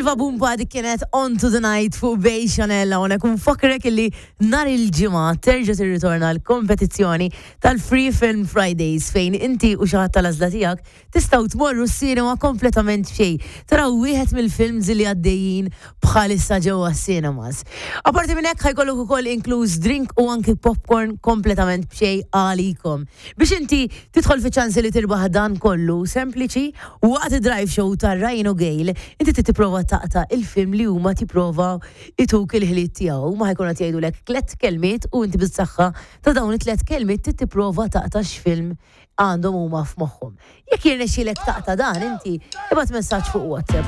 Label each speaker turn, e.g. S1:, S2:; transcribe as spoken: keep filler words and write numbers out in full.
S1: Silva Bumba, dik kienet "On to the Night" fuq Bay Chanel. Hawnhekk nfakkrek illi nhar il-Ġimgħa terġa' tirritorna l-kompetizzjoni tal-Free Film Fridays, fejn inti u xi ħadd tal-għażla tiegħek tistgħu tmorru s-cinema kompletament b'xejn. Taraw wieħed mill-films li għaddejjin bħalissa ġewwa cinemas. Aparti minn hekk, ħa jkollok ukoll inkluż drink u anki popcorn kompletament b'xejn għalikom. Biex inti tidħol fi ċansi li tirbaħ dan kollu, sempliċi, waqt drive show ta' Ryan u Gail, inti tipprova taqta' il-film li huma tipprova ituk il-ħiliet tiegħu. Ma ħa jkunu qed jgħidulek tliet kelmiet u inti bis-saħħa ta' dawn it-tliet kelmiet trid tipprova taqta' x'film għandhom huma f'moħħhom. Jekk jirnexxielek taqta' dan inti, ibgħat messaġġ fuq WhatsApp.